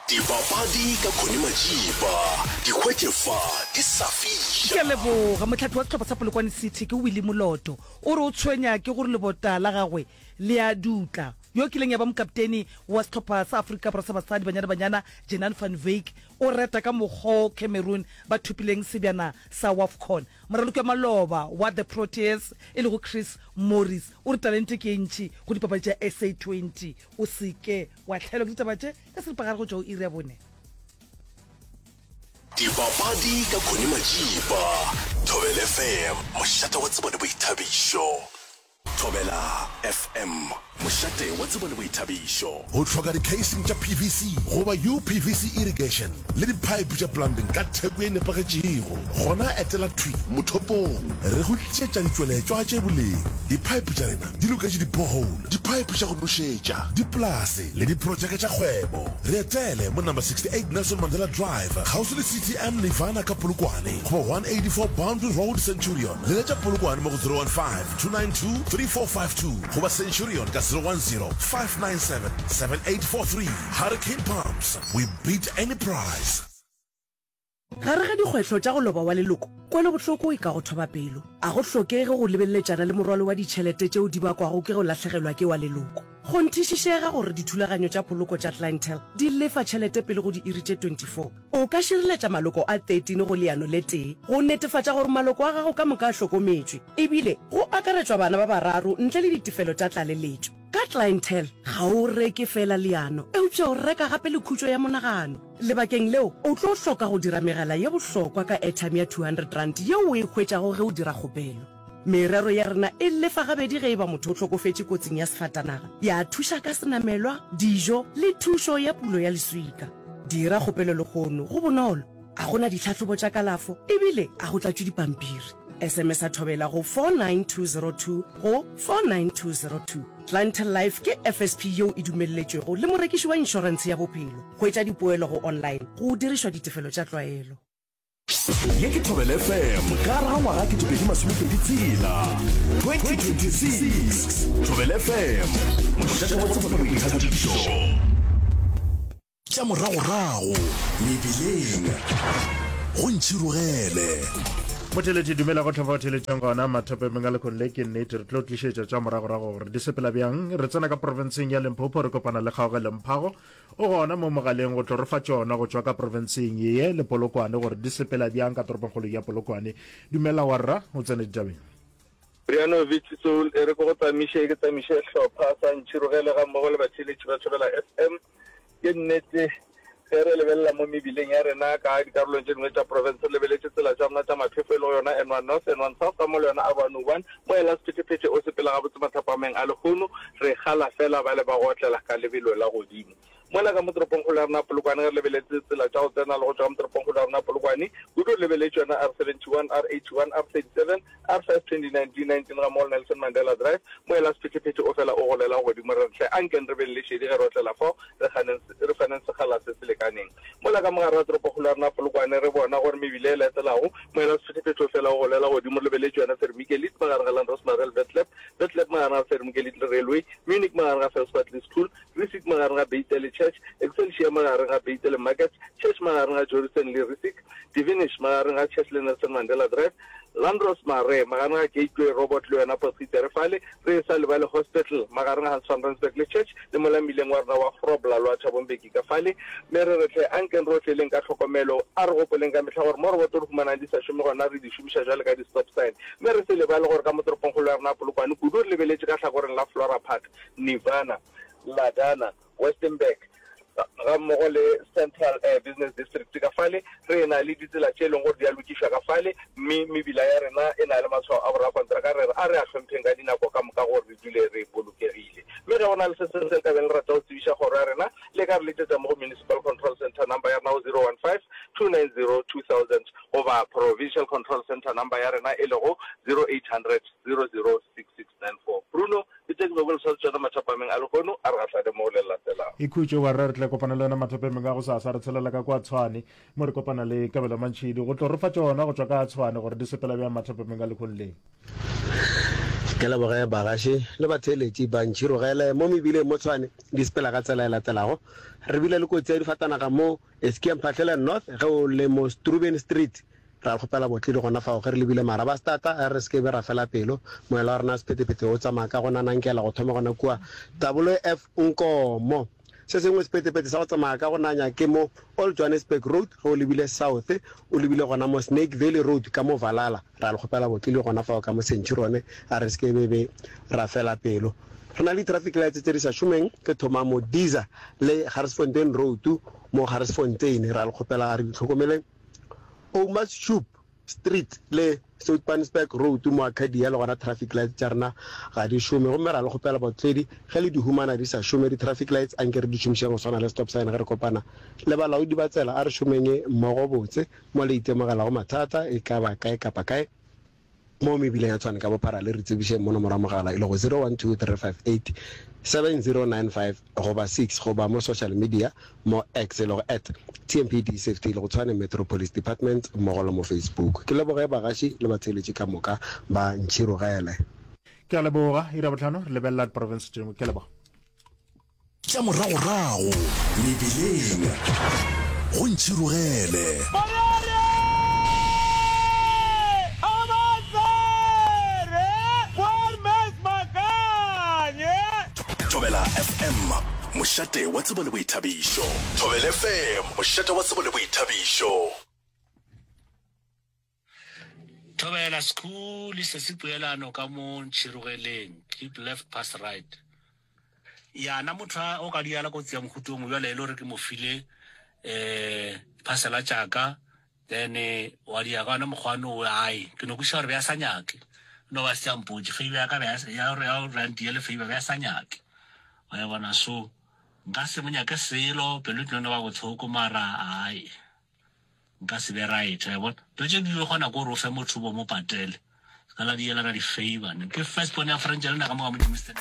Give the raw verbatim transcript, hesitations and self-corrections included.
Dipapadi ka Connie Majiba, di hwetše fa di sa fiša. Ke a leboga. Mohlahli wa sehlopha sa Polokwane City ke Willie Moloto. O re o tshwenya ke gore lebota la gagwe le a dutla. Yo kileng ya ba mokapteni wa sehlopha sa Afrika Borwa sa basadi Banyana Banyana Jenan van Wyk o reta ka mokgo Cameroon ba thopileng sebjana sa WAFCON. Moraloki wa maloba wa The Proteas e lego Chris Morris o re talente ke e ntši go dipapadi tša S A twenty. O se ke wa hlaelwa ke ditaba tše ka seripagare go tšwa go iri ya bone. Dipapadi ka Connie Majiba, Thobela F M, mošate wa tsebo le boithabišo. Thobela F M, mošate wa tsebo le boithabišo. O hloka di-casing tša P V C goba U P V C irrigation le di-pipe tša plumbing ka theko ye nepagetšego? Gona etela thwi mothopong. Re go tlišetša ditšweletšwa tše boleng. Di-pipe tša rena di loketše di-borehole, di-pipe tša go nošetša, dipolase le diprotšeke tša kgwebo. Re etele mo number sixty eight Nelson Mandela Drive, kgauswi le C T M Nirvana ka Polokwane, goba one eighty four Boundary Road, Centurion. Leletša Polokwane mo go zero one five, two nine two, three four five two goba Centurion ka zero one zero, five nine seven, seven eight four three. Hurricane Pumps, we beat any price. Gare ga dikgwehlo tša go loba wa leloko, kwelobohloko e ka go thoba pelo. A go hlokege go lebeleletšana le morwalo wa ditšhelete tšeo di bakwago ke go lahlegelwa ke wa leloko. Kgonthišišega gore dithulaganyo tša poloko tša Clientele di lefa tšhelete pele go diiri tše twenty four. O ka šireletša maloko a thirteen go leano le tee go netefatša gore maloko a gago ka moka a hlokometšwe, ebile go akaretšwa bana ba bararo ntle le ditefelo tša tlaleletšo. Ka Clientele, ga o reke feela leano, eupša o reka gape le khutšo ya monagano. Lebakeng leo, o tlo hloka go dira megala ye bohlokwa ka airtime ya two hundred rand yeo o e hwetšago ge o dira kgopelo. Merero ya rena e lefa gabedi ge e ba motho o hlokofetše kotsing ya sefatanaga, ya thuša ka senamelwa, dijo le thušo ya pulo ya leswika. Dira kgopelo lehono, go bonolo, a go na ditlhahlobo tša kalafo ebile a go tlatšwe dipampiri. S M S a Thobela go four nine two zero two go four nine two zero two. Clientele Life ke F S P yeo e dumelletšwego le morekiši wa inšorentshe ya bophelo. Hwetša dipoelo go online go dirišwa ditefelo tša tlwaelo. Ye ke Thobela F M ka gare ga ngwaga ketepedi masomepedi tshela, twenty twenty six. Thobela F M, mošate wa tsebo le boithabišo. Tša moragorago mebileng go ntšhirogele. Motheeletši, dumela go tlhofa o theeletšang gona mathapemeng a lekhong le. Ke nnete re tlo tlišetša tša moragorago gore di sepela bjang. Re tsena ka profenseng ya Limpopo, re kopana le Kgaogelo Mphago, o gona mo mogaleng go tlo re fa tšona go tšwa ka profenseng ye le Polokwane gore di sepela bjang ka toropongkgolo ya Polokwane. Dumela warra, o tsene ditabeng. Brianovic Soul, e re ke go tsamiše, ke tsamiše hlopha sa Ntšhirogele ga mmogo le batheeletši ba Thobela F M. Ke nnete, ge re lebelela mo mebileng ya rena ka dikarolong tše dingwe tša profense, re lebeletše tsela tša rena tša maphefo e lego yona N one North, N one South ga mmogo le yona R one oh one. Mo ela sephethephethe o sepela gabotse mathapameng a lehono, re kgala fela bale ba go otlela ka lebelo la godimo. Mola ka mo toropongkgolo ya rena Polokwane, ge re lebeletše tsela tša go tsena le go tšwa ka mo toropongkgolo ya rena Polokwane, kudu re lebeletše yona R seventy one, R eighty one, R thirty seven, R five twenty nine, D nineteen ga mmogo le Nelson Mandela Drive. Mo ela sephethephethe o fela o golela godimo, re re hle ankeng re beng le šedi ge re otlela fao, re ganeng, re faneng sekgala se se lekaneng. Mola ka mogare ga toropokgolo ya rena Polokwane, re bona gore mebila e latelago, mo ela sephethephethe o fela o golela godimo, re lebeletše yona Vermiekelit magareng ga Landdros Marel Vetlep, Vetlep magareng ga Vermiekelit le Railway, Munich magareng ga Felspatli School, Rissik magareng ga Beite le Church, Excelsior magareng ga Beite le Market, Church magareng ga Jorissen le Rissik, Divinish magareng ga Church le Nelson Mandela Drive, Landdros Mare magareng ga Gateway Robot le yona Potgieter fale, re e sa lebale Hospital magareng ga Hans van Rensburg le Church le mola mmileng wa rena wa Grobler lwa Thabo Mbeki ka fale. Mme re re hle ankeng re otleleng ka tlhokomelo, a re gopoleng ka mehla gore mo roboto re humanang di sa šome gona re di šomiša bjale ka di-stop sign. Mme re se lebale gore ka mo toropongkgolo ya rena ya Polokwane kudu re lebeletše ka hlakoreng la Flora Park, Nirvana, Ladana, Westenburg, ga mmogo le Central Business District ka fale, re na le ditsela tše e leng gore di a lokišwa ka fale, mme mebila ya rena e na le matshwao a borakontraka, re re a re a hlompheng ka dinako ka moka gore re dule re bolokegile. Mme ge go na le se sengwe se le ka beng le rata go tsebiša kgoro ya rena, le ka re letšetša mo go Municipal Control Centre number ya rena go zero one five, two nine zero, two thousand goba Provincial Control Centre number ya rena e lego zero eight hundred, zero zero, six six nine four. Bruno. Ke tše ke bego le swanetše tšona mathapameng a lehono, a re gahlane mo go le latelago. Ikhutše warra, re tla kopana le wena mathapameng a gosasa. Re tshelela ka kwa Tshwane mo re kopana le Kabelo Mantšhidi go tlo re fa tšona go tšwa ka Tshwane gore di sepela bjang mathapameng a lehono le. Ke leboge bagaši le batheeletši ba Ntšhirogele mo mebileng mo Tshwane di sepela ka tsela e latelago. Re bile le kotsi ya difatanaga mo Eskia Mphahlele North ge o le mo Struben Street. Ra kgopela botledi gona fao ge re lebile Marabastata a re se ke be ra fela pelo. Moela wa rena sephethephethe o tsamaya ka go nanankela go thoma gona kua Taboloe F Nkomo. Se sengwe sephethephethe sa go tsamaya ka go nanya ke mo Old Johannesburg Road ge o lebile south o lebile gona mo Snake Valley Road ka mo Valhalla. Ra le kgopela botledi gona fao ka mo Centurion a re se ke be be ra fela pelo. Re na le di-traffic lights tše di sa šomeng ke thoma mo Diza le Garsfontein Road mo Garsfontein. Ra le kgopela a re di hlokomeleng. Oudtshoorn Street le Soutpansberg Road mo Arcadia le gona traffic lights tša rena ga di šome gomme ra le kgopela baotledi ge le di humana di sa šome di traffic lights anke re di šomišeng go swana le stop sign ge re kopana le balaodi ba tsela a re šomeng mmogo botse mo le itemogelago mathata e ka ba kae kapa kae mo mebileng ya Tshwane ka bophara le re tsebišeng mo nomoro ya mogala e lego zero one two three five eight seven zero nine five goba six goba mo social media mo X e lego at T M P D Safety e lego Tshwane Metro Police Department mmogo le mo Facebook. Ke leboge bagaši le batheeletši ka moka ba Ntšhirogele. Ke a leboga. Iri ya bohlano re lebelela diprofense tše dingwe. Ke a leboga. Tša moragorago mebileng go Ntšhirogele. Thobela F M, mošate wa tsebo le boithabišo. Thobela F M, mošate wa tsebo le boithabišo. Thobela School se se poelano ka mo Ntšhirogeleng, keep left pass right. Ya na motho a o ka diala kotsi ya mohuta o mongwe bjale e le gore ke mo file um diphasela tša ka then wa di ya ka ona mokgwa no ai ke no kwešiša gore be a sa nyake no ba se a mpotše favor ya ka be ya gore ya gore a ntiele favor be a sa nyake wa e bona so nka se mo nyake selo pelo e tlo no ba bohloko mara ai nka se be right wa e bona dilo tše di kgona ko gore o fe motho bo mo patele se ka la dielana di-favor ne ke first born ya French le nna ka mo ka mo Germiston.